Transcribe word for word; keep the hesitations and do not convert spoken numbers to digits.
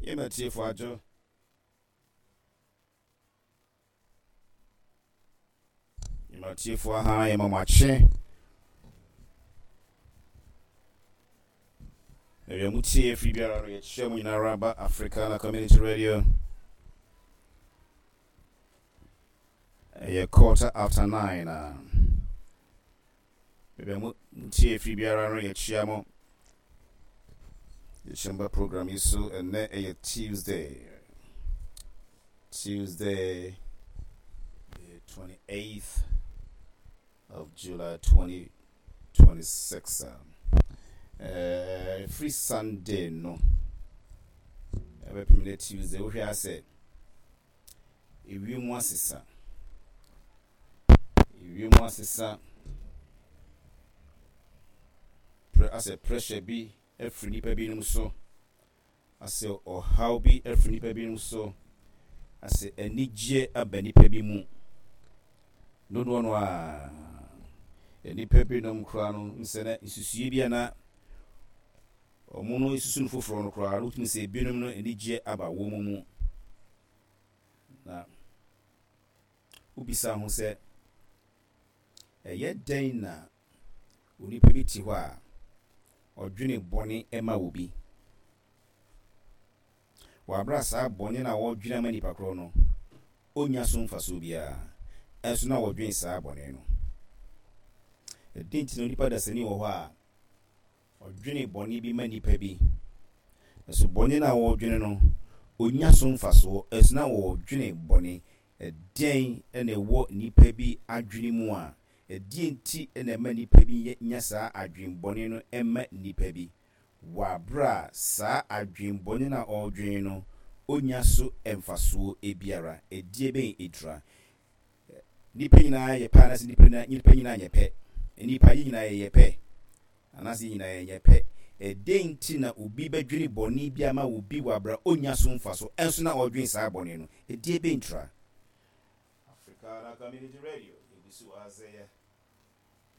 Yɛma tiefo adwo. Yɛma tiefo aha, yɛma mo akye. Baabi a motie afiri biara no, yɛkyerɛ mo nyinara ba Africana Community Radio. Ɛyɛ quarter after nine a baabi a motie afiri biara no, yɛkyia mo. Yɛkyia mo ba program yi so. Ɛnnɛ ɛyɛ Tuesday, Tuesday the twenty-eighth of July twenty twenty-six. uh, free Sunday no ɛbɛpem dɛ Tuesday, wohwɛ asɛ ewiem asesa, ewiem asesa, asɛ pressure bi afiri nipa binom so, asɛ ɔhaw bi afiri nipa binom so, asɛ anigyeɛ aba nipa bi mu dodoɔ no a nipa binom koraa no nsɛ na nsusue bi a na ɔmo no esusu no foforɔ no koraa no, wotumi sɛ ebinom no anigyeɛ aba wɔn mu. Na wobisa ho sɛ ɛyɛ dɛn na onipa bi te hɔ a ɔdwene bɔne ma obi wɔ abere saa bɔne no a wɔdwene ama nipa korɔ no ɔnya so mfasoɔ biara, ɛnso na wɔdwene saa bɔne no? Ɛdi nti na onipa dasani wɔ hɔ a ɔdwene bɔne bi ma nipa bi, ɛso bɔne no a wɔdwene no ɔnya so mfasoɔ, ɛnso na wɔdwene bɔne? Ɛdɛn ɛna ɛwɔ nipa bi adwene mu a ɛdeɛ nti ɛna ɛma nipa bi nya saa adwenbɔne no ɛma nipa bi wɔ abere a saa adwenbɔne no a ɔredwene no ɔnya so mfasoɔ biara? Ɛdeɛ bɛn ɛdura nipa nyinaa yɛ pɛ anaasɛ nipa nipa nyinaa nyɛ pɛ? Nipa yɛ nyinaa yɛ pɛ anaasɛ yɛ nyinaa yɛ pɛ? Ɛdeɛ nti na obi bɛdwene bɔne bi ama obi wɔ abere a ɔnya so mfaso, ɛnso na ɔredwene saa bɔne no? Ɛdeɛ bɛn tura? Africana Community Radio, ebi so wɔ ha sɛ yɛ